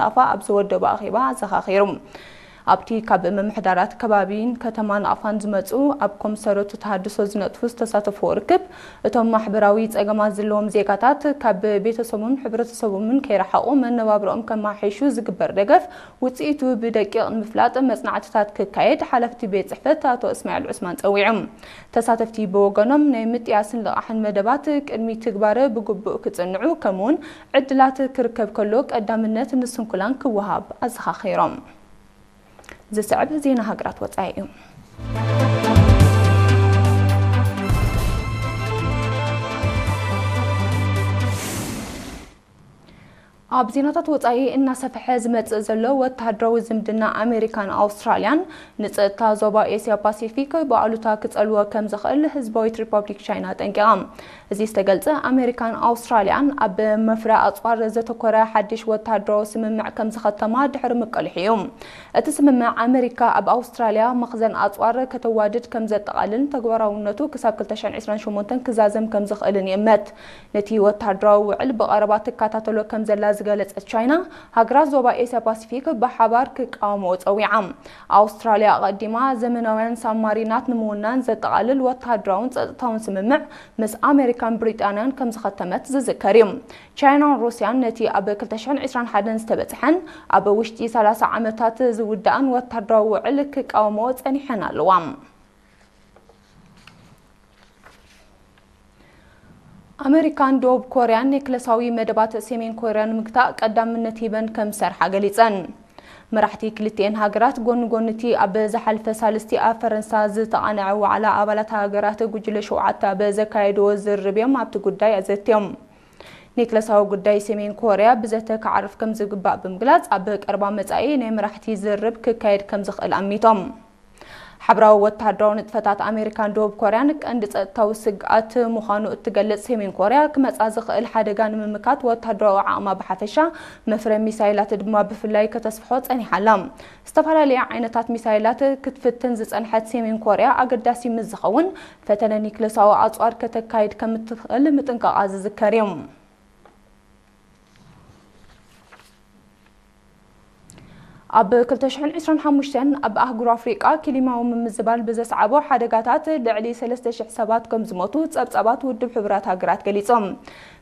ናቕፋ ኣብ ዝወደቦ ኣኼባ ኣዘኻኺሩ። ኣብቲ ካብ ምምሕዳራት ከባቢን ከተማ ናቕፋን ዝመጹ ኣብ ኮምሰረቱ ተሃድሶ ዝነጥፉ ዝተሳተፍዎ ርክብ፣ እቶም ማሕበራዊ ጸገማት ዘለዎም ዜጋታት ካብ ቤተሰቦምን ሕብረተሰቦምን ከይረሓቑ መነባብሮኦም ከማሓይሹ ዝግበር ደገፍ ውጽኢቱ ብደቂቕ ንምፍላጥ መጽናዕትታት ክካየድ ሓላፍቲ ቤት ጽሕፈት ኣቶ እስማኤል ዑስማን ጸዊዖም። ተሳተፍቲ ብወገኖም ናይ ምጥያስን ልቓሕን መደባት ቅድሚ ትግባረ ብግቡእ ክጽንዑ ከምኡውን ዕድላት ክርከብ ከሎ ቀዳምነት ንስንኩላን ክወሃብ ኣዘኻኺሮም። ዝስዕብ ዜና ሃገራት ወጻኢ እዩ። ኣብ ዜናታት ወጻኢ እናሰፍሐ ዝመጽእ ዘሎ ወተሃደራዊ ዝምድና ኣሜሪካን ኣውስትራልያን ንጸጥታ ዞባ ኤስያ ፓሲፊክ ብኣሉታ ክጸልዎ ከም ዝኽእል ህዝባዊት ሪፐብሊክ ቻይና ጠንቂቓ። እዚ ዝተገልጸ ኣሜሪካን ኣውስትራልያን ኣብ መፍረ ኣጽዋር ዘተኮረ ሓድሽ ወተሃደራዊ ስምምዕ ከም ዝኸተማ ድሕሪ ምቅልሑ እዩ። እቲ ስምምዕ ኣሜሪካ ኣብ ኣውስትራልያ መኽዘን ኣጽዋር ከተዋድድ ከም ዘጠቓልልን ተግባራውነቱ ክሳብ ክልተ ሽሕን ዕስራን ሸሞንተን ክዛዘም ከም ዝኽእልን ይእመት። ነቲ ወተሃደራዊ ውዕል ብቐረባ ትከታተሎ ከም ዘላ ዝገለጸት ቻይና፣ ሃገራት ዞባ ኤስያ ፓሲፊክ ብሓባር ክቃወምኦ ጸዊዓ። ኣውስትራልያ ኣቐዲማ ዘመናውያን ሳብማሪናት ንምውናን ዘጠቓልል ወተሃደራውን ጸጥታውን ስምምዕ ምስ ኣሜሪካን ብሪጣንያን ከም ዝኸተመት ዝዝከር እዩ። ቻይናን ሩስያን ነቲ ኣብ ክልተ ሽሕን ዕስራን ሓደን ዝተበጽሐን ኣብ ውሽጢ ሰላሳ ዓመታት ዝውዳእን ወተሃደራዊ ውዕል ክቃወምኦ ጸኒሐን ኣለዋ። ኣመሪካን ደቡብ ኮርያን ኒክለሳዊ መደባት ሰሜን ኮርያ ንምግታእ ቀዳምነት ሂበን ከም ዝሰርሓ ገሊጸን። መራሕቲ ክልቲኤን ሃገራት ጎኒ ጎኒ እቲ ኣብ ዝሓለፈ ሳልስቲ ኣብ ፈረንሳ ዝተቓነዐ ዋዕላ ኣባላት ሃገራት ጉጅለ ሸውዓተ ኣብ ዘካየድዎ ዝርርብ እዮም ኣብቲ ጉዳይ ኣዘትዮም። ኒክለሳዊ ጉዳይ ሰሜን ኮርያ ብዘተ ክዓርፍ ከም ዝግባእ ብምግላጽ፣ ኣብ ቀረባ መጻኢ ናይ መራሕቲ ዝርርብ ክካየድ ከም ዝኽእል ኣሚቶም። ሓብራዊ ወተሃደራዊ ንጥፈታት ኣሜሪካን ደቡብ ኮርያን ቀንዲ ጸጥታዊ ስግኣት ምዃኑ እትገልጽ ሰሜን ኮርያ፣ ክመጻ ዝኽእል ሓደጋ ንምምካት ወተሃደራዊ ዓቕማ ብሓፈሻ፣ መፍረ ሚሳይላት ድማ ብፍላይ ከተስፍሖ ጸኒሓ ኣላ። ዝተፈላለያ ዓይነታት ሚሳይላት ክትፍትን ዝጸንሐት ሰሜን ኮርያ፣ ኣገዳሲ ምስ ዝኸውን ፈተነ ኒክለሳዊ ኣጽዋር ከተካይድ ከም እትኽእል ምጥንቃቓ ዝዝከር እዩ። ኣብ ክልተ ሽሕን ዕስራን ሓሙሽተን ኣብ ኣህጉር ኣፍሪቃ ክሊማዊ ምምዝባል ብዘስዓቦ ሓደጋታት ልዕሊ ሰለስተ ሽሕ ሰባት ከም ዝሞቱ ጸብጻባት ውድብ ሕቡራት ሃገራት ገሊጾም።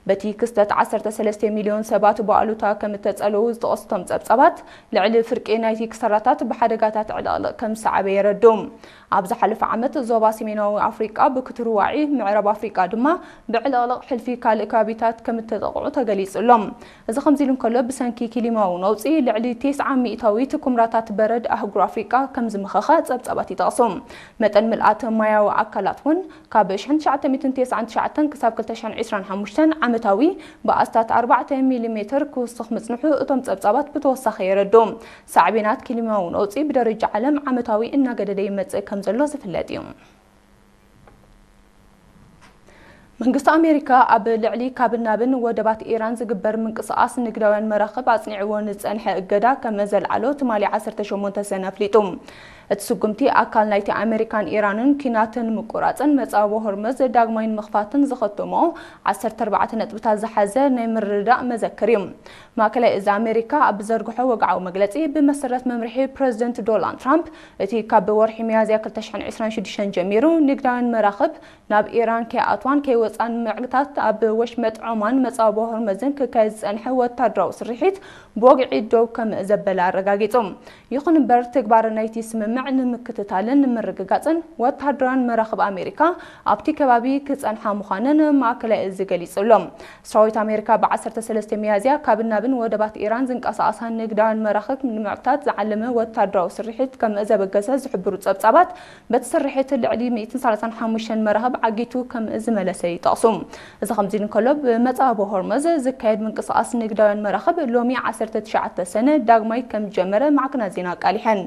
በቲ ክስተት ዓሰርተ ሰለስተ ሚልዮን ሰባት ብኣሉታ ከም እተጸለዉ ዝጠቐሱ እቶም ጸብጻባት፣ ልዕሊ ፍርቂ ናይቲ ክሳራታት ብሓደጋታት ዕልቕልቕ ከም ዝሰዓበ የረዱ። ኣብ ዝሓለፈ ዓመት ዞባ ሰሜናዊ ኣፍሪቃ ብክትርዋዒ፣ ምዕራብ ኣፍሪቃ ድማ ብዕልቕልቕ ሕልፊ ካልእ ከባቢታት ከም እተጠቕዑ ተገሊጹ ኣሎ። እዚ ከምዚ ኢሉ እንከሎ፣ ብሰንኪ ክሊማዊ ነውጺ ልዕሊ ተስዓ ሚእታዊት ኩምራታት በረድ ኣህጉር ኣፍሪቃ ከም ዝመኸኸ ጸብጻባት ይጠቕሱ። መጠን ምልኣት ማያዊ ኣካላት እውን ካብ ሽሕን ትሽዓተ ሚእትን ተስዓን ትሽዓተን ክሳብ ክልተ ሽሕን ዕስራን ሓሙሽተን ዓመታዊ ብኣስታት ኣርባዕተ ሚሊሜትር ክውስኽ ምጽንሑ እቶም ጸብጻባት ብተወሳኺ የረዱ። ሳዕቤናት ክሊማዊ ነውጺ ብደረጃ ዓለም ዓመታዊ እናገደደ ይመጽእ ከም ዘሎ ዝፍለጥ እዩ። መንግስቲ ኣሜሪካ ኣብ ልዕሊ ካብን ናብን ወደባት ኢራን ዝግበር ምንቅስቓስ ንግዳውያን መራኽብ ኣጽኒዕዎ ንዝጸንሐ እገዳ ከም ዘልዓሎ ትማሊ ዓሰርተ ሸሞንተ ሰነ ኣፍሊጡ። እቲ ስጉምቲ ኣካል ናይቲ ኣሜሪካን ኢራንን ኲናት ንምቁራጽን መጻወ ሆርመዝ ዳግማይ ንምኽፋትን ዝኸተሞ ዓሰርተ ኣርባዕተ ነጥብታት ዝሓዘ ናይ ምርድዳእ መዘክር እዩ። ማእከላይ እዚ ኣሜሪካ ኣብ ዝዘርግሖ ወግዓዊ መግለጺ፣ ብመሰረት መምርሒ ፕረዚደንት ዶናልድ ትራምፕ፣ እቲ ካብ ወርሒ ሚያዝያ ክልተ ሽሕን ዕስራን ሽዱሽተን ጀሚሩ ንግዳውያን መራኽብ ናብ ኢራን ከይኣትዋን ከይወጻን ንምዕግታት ኣብ ወሽመጥ ዖማን መጻወ ሆርመዝን ክካየድ ዝጸንሐ ወታደራዊ ስርሒት ብወግዒ ደው ከም ዘበለ ኣረጋጊጹ። ይኹን እምበር፣ ትግባረ ናይቲ ስምምዕ ንምክትታልን ንምርግጋጽን ወታደራውያን መራኽብ ኣሜሪካ ኣብቲ ከባቢ ክጸንሓ ምዃነን ማእከላይ እዚ ገሊጹ ኣሎ። ሰራዊት ኣሜሪካ ብ ዓሰርተ ሰለስተ ሚያዝያ ካብን ናብን ወደባት ኢራን ዝንቀሳቐሳ ንግዳውያን መራኽብ ንምዕግታት ዝዓለመ ወታደራዊ ስርሒት ከም ዘበገሰ ዝሕብሩ ጸብጻባት፣ በቲ ስርሒት ልዕሊ ሚእትን ሰላሳን ሓሙሽተን መራኽብ ዓጊቱ ከም ዝመለሰ ይጠቕሱ። እዚ ከምዚ ኢሉ እንከሎ፣ ብመጻወ ሆርመዝ ዝካየድ ምንቅስቓስ ንግዳውያን መራኽብ ሎሚ ዓሰርተ ትሽዓተ ሰነ ዳግማይ ከም ዝጀመረ ማዕከናት ዜና ኣቃሊሐን።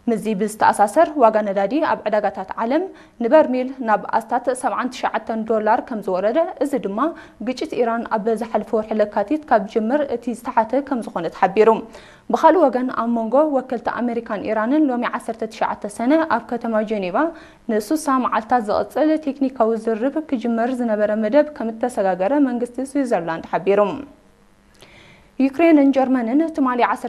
ምስዚ ብዝተኣሳሰር፣ ዋጋ ነዳዲ ኣብ ዕዳጋታት ዓለም ንበርሚል ናብ ኣስታት ሰብዓን ትሽዓተን ዶላር ከም ዝወረደ፣ እዚ ድማ ግጭት ኢራን ኣብ ዝሓለፈ ወርሒ ለካቲት ካብ ዝጅምር እቲ ዝተሓተ ከም ዝኾነ ተሓቢሩ። ብኻልእ ወገን፣ ኣብ መንጎ ወከልቲ ኣሜሪካን ኢራንን ሎሚ ዓሰርተ ትሽዓተ ሰነ ኣብ ከተማ ጀኔቫ ንሱሳ መዓልታት ዝቕጽል ቴክኒካዊ ዝርርብ ክጅመር ዝነበረ መደብ ከም እተሰጋገረ መንግስቲ ስዊዘርላንድ ሓቢሩ። ዩክሬንን ጀርመንን ትማሊ ዓሰርተ